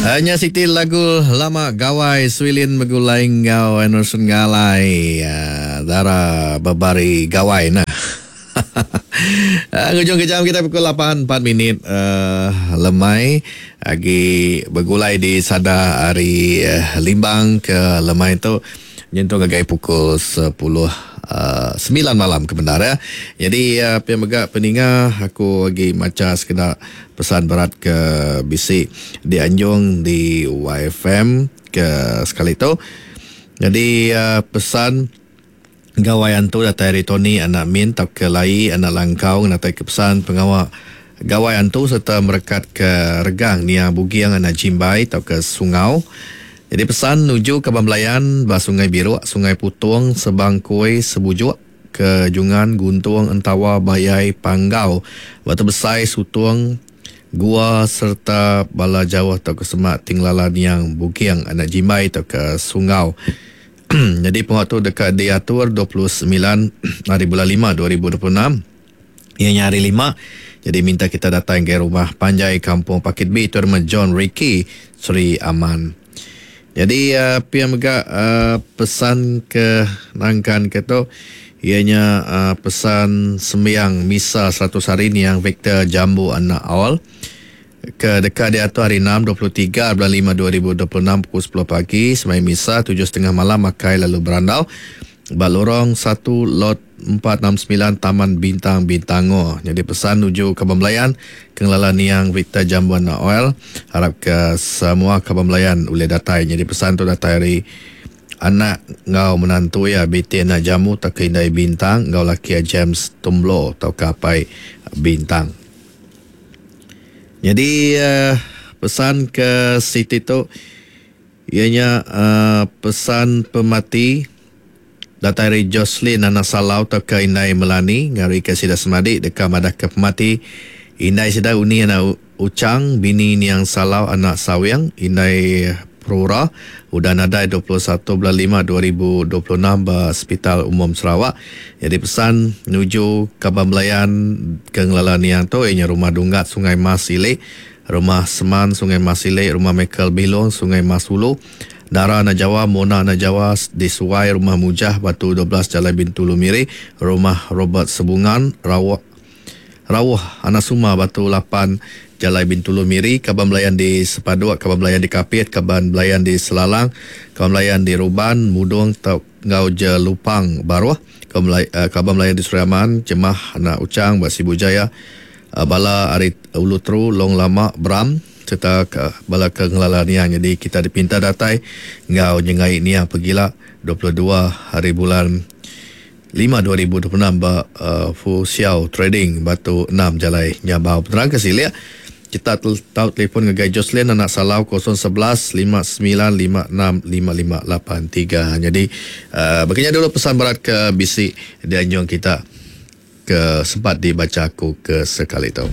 Nya siti lagu lama Gawai Swilin begulai enggau Anderson Ngalai Dara Bebari Gawai nah. Ngujung ke jam kita pukul 8 4 minit uh, lemai agi begulai di sada ari Limbang ke lemai tu nyentuk ngagai pukul 10 uh, 9 malam ke bendar ya. Jadi uh, pia mega peninga aku agi macha sekeda pesan berat ke bisi dianjung di YFM ke sekali tu. Jadi uh, pesan Gawai Antu datai ari Tony anak Min tauka Lai anak Langkau ngenataika pesan pengawa Gawai Antu sereta merekatka regang Nia Buging anak Jimbai tauka Sungau. Nyadi pesan nuju kaban belayan ba Sungai Biruk, Sungai Putong, Sebangkoi, Sebujuk, ke Jungan, Guntung, Entawa, Bayai, Panggau, Batu Besai, Sutong, Gua sereta bala jauh tauka semak ti ngelala Niang Buging anak Jimbai tauka Sungau. Nyadi pengawa tu deka diatur 29 hari bulan lima 2026 iya nya hari lima. Jadi minta kita datai ngagai rumah panjai Kampung Pakit B tu nama John Ricky Sri Aman. Jadi uh, pia mega uh, pesan ke nangkan ke tu iya nya uh, pesan sembiang misa 100 hari niang Victor Jambu anak Awal. Ke deka diatur hari Enam, 23 bulan lima 2026 pukul sepuluh pagi, semaya misa tujuh setengah malam makai lalu berandau ba Lorong satu Lot 469 Taman Bintang Bintangor. Nyadi pesan nuju kaban belayan ke ngelala niang Victor Jambuan Noel, arapka semua kaban belayan ulih datai. Nyadi pesan tu datai ari anak enggau menantu iya Biti anak Jamu tauka Indai Bintang enggau laki iya James Tumblo tauka Apai Bintang. Nyadi pesan ke siti tu iya nya pesan pemati datai ari Jocelyn anak Salau tauka indai Melanie ngarika sida semadi deka madahka pemati indai sida Uni anak Uchang bini Niang Salau anak Sawing indai Prura udah nadai 21 bulan lima 2026 ba Sepital Umum Sarawak. Nyadi pesan nuju kaban belayan ke ngelala niang tu iya nya Rumah Dunggat Sungai Mas Ili, Rumah Seman Sungai Mas Ili, Rumah Michael Bilong Sungai Mas Ulu, Dara Anak Jawa, Mona Anak Jawa di Suai, Rumah Mujah Batu 12 Jalai Bintulu Miri, Rumah Robert Sebungan, Rawok Rauh Anak Suma Batu 8 Jalai Bintulu Miri, kaban belayan di Sepaduk, kaban belayan di Kapit, kaban belayan di Selalang, kaban belayan di Ruban, Mudong tau enggau Jelupang Baruh, kaban belayan di Sri Aman, Jemah Anak Uchang ba Sibu Jaya, bala ari Ulu Teru, Long Lama, Bram sereta bala ke ngelala niang nyadi kita dipinta datai enggau nyengai niang pegila 22 hari bulan lima 2026 ba Fu Xiao Trading Batu enam Jalai Nyabau. Penerang ke silik, kita tau telefon ngagai Jocelyn anak Salau 011 59 56 5583. Nyadi baka nya dulu pesan berat ke bisi dianjung kita ke sempat dibacha aku ke sekali tu.